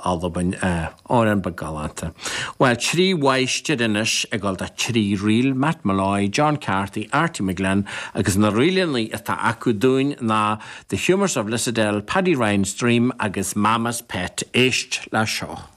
Albain. Amhrán beag galánta. Bhuel, 3 mháistir anois ag dul do 3 ríl, Matt Molloy, John Carthy, Arty McGlynn agus na ríleanna atá acu dúinn ná The Humours of Lissadell, Paddy Ryan's Dream agus Mama's Pet. Éist le seo.